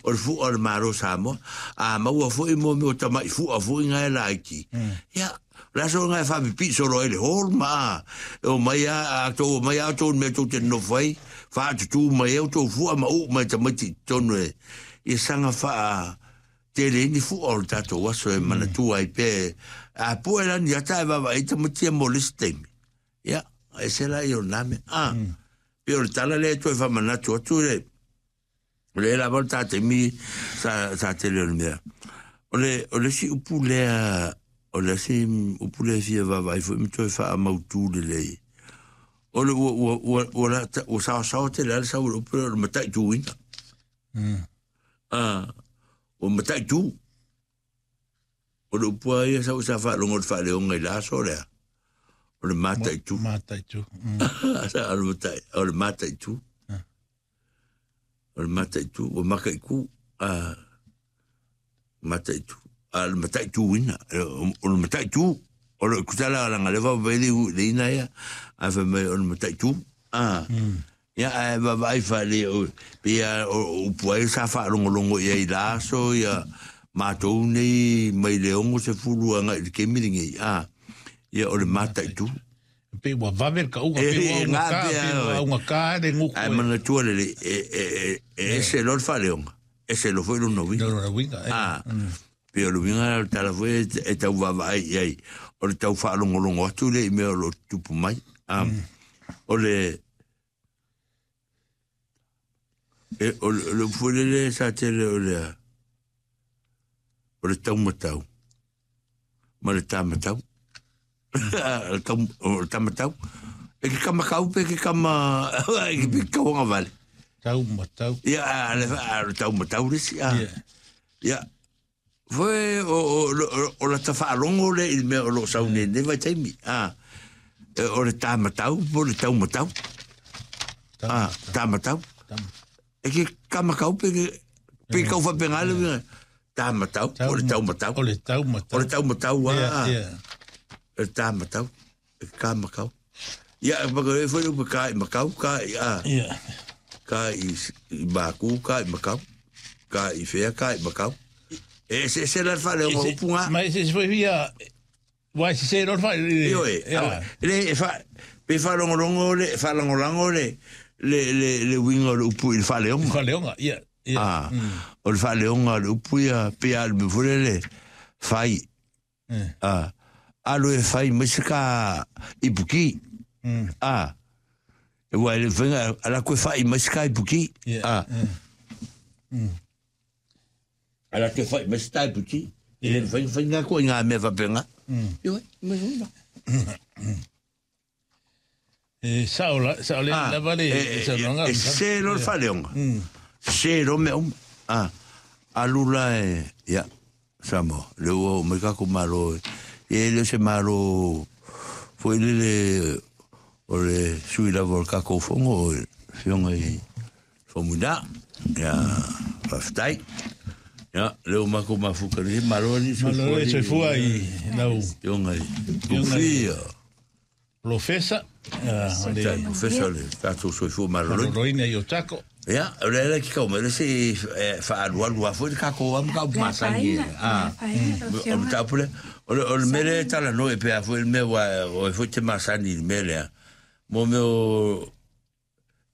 O le fu'a o le Malo o Samoa. A maua foi mo mea o tama'i fu'a foi na e laiti. Ia, o le aso lena e faapipii solo ai le hall ma a, e omai a, a tou omai a outou i le mea tou te nonofo ai, faatutū mai ai outou fu'a ma uu mai tamaiti i totonu e, ia saga faa tele ai ni fu'a o le tatou aso e manatua ai pea. A pue la ni ata e vaavaai ai tamaiti ia mo le isi taimi. Ia, ese la ia o lena mea. A, pei o le tala lea e toe faamanatu atu le, o lea lava o le ta taimi sa, sa tele o le mea. O le, o le isi upu lea, o le isi upu lea e fia vaavaai foi ma toe faamautu lelei, o le ua, ua, ua, ua, ua, ua saosaoa tele lava le sau o le upu lea o le mataituina. A, ua mataitu. O le upu lava ia sau sa faalogo i le faaleoga i le aso lea, o le mataitu. Mataitu. O le matai, o le mataitu. O le mataitu, ua makaiku, a mataitu. A le mataituina, o le mataitu, o le kutala langa le vava le le ina ia, a fai mai o le mataitu. A, Ia, ae vaavaai faale, o, pei lava o, o upu ai sa faalogologo i ai i la aso, ia, matou nei mai le 60 agai i le taimi lenei, a, ia, o le mataitu. Pei ua vave le kauga, pei ua augata, pei ua augata le gutu. Ae manatua lelei, e, e, e, e ese loa le faaleoga, ese loa foi lona uiga. Lona uiga, e. A, pei o le uiga lena o le tala foi e, e tau vaavaai i ai, o le tau faalogologo atu lea i mea o lo o tutupu mai. A, o le, E, o, le, o le upu foi lele sa tele o le, o le taumatau ma le tamatau. O le tau, o le tamatau. E ke kamakau pe ke kama, e ke pe kauanga vale. Taumatau. Ia, a, le, a, le taumatau le isi, a. Ia, Foi o, o, o, o lata faalogo lea i le mea o lo o sau nei nei vaitaimi. A, e, o le tāmatau po o le taumatau. A, tāmatau. E ke kamakau pe ke, pe kau whapenga le uiga. Tāmatau, o le taumatau. O le taumatau. O le taumatau, a. Yeah, yeah. O le tāmatau. E ka makau. Ia, e whaka e whai upe ka i makau, ka i a. Yeah. Ka i, i mākū, ka i makau. Ka i whea, ka i makau. E se se la whare o ngā upu ngā. Ma e se se whai whia, wai se se ror whai. Io e, le, e wha, pe wharongorongo le, wharangorango le, le, le, le winga o le upu i le whaleonga. Whaleonga, ia. Yeah. Ah, o le whaleonga o le upu ia, pe a le me fure le, whai, A, alu e whai mai se ka ipuki. A, e wai le whenga, ala koe whai mai se ka ipuki. A, ala koe whai mai se ka ipuki. E le whainga whainga koe i ngā mea whapenga. Ioi, mai huna. E sao la, sao le Ah, lava le e, saunoaga. e, e se lo le faaleoga. Se lo mea uma. Ah, alu la e, ia, Samoa, le ua oo mai kako malo, e, e le o se malo foi lele o le sui lava o le kakou fono o le afioga i Faumuina. Ia, faafetai. Ia, le ua makou mafuta nei, malo alii soifua. Malo le soifua i lau. Afioga i Tufi. Polofesa, o le... Tai professor le tatou soifua maloloina. Maloloina i Otago. Ia, o le ala ki kau mai le se whaalualu a foi le kako am ka masani. Ah. O le tapu le, o le o le mele tala no e pea foi le mea wa o e foi te masani le mele. Mo mea o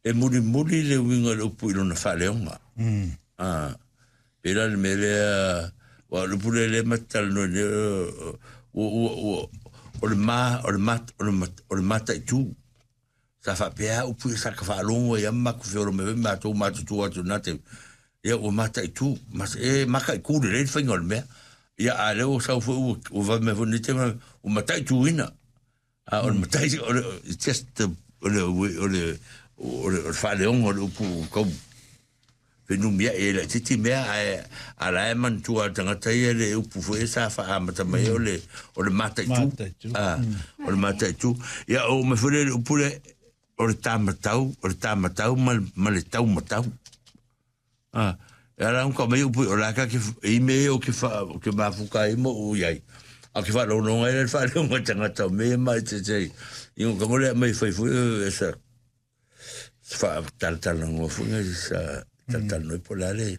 E mulimuli le uiga o le upu i lona faaleoga. A, pēlā le mea lea, aua o le upu lea lea ma te talanoa nei, ua, ua, ua, o le ma, o le ma, o le ma, o le mataitū. Sa faapea lava upu ia sa ka faalogo ai lava ma matou feola mai foi matou matutua atu i lena taimi. Ia ua mataitū, ma, e mataitū lelei le faiga o le mea. Ia a o lea ua sau foi ua, ua vave mai foi lenei taimi, ua mataituina. A o le matai, o le, it's just the, o le, o le, o le, o le faaleoga o le upu kau whenumia e la titi mea ae a la e manatua le tagata ia le upu foi e sa faaamata mai o le o le mataitu. Mataitu. Ah, o le mataitu. Ia o me foi le upu le o le tamatau, o le tamatau ma, ma le taumatau. A, e ala ka mai upu o la ka ke i me o ke fa ke mafuka i mo u iai. A ke whalononga i le whaleonga tangata o me mai te te i ngo ka mai fai fui e sa wha talatala ngo fu ngai sa talatala noi po la le.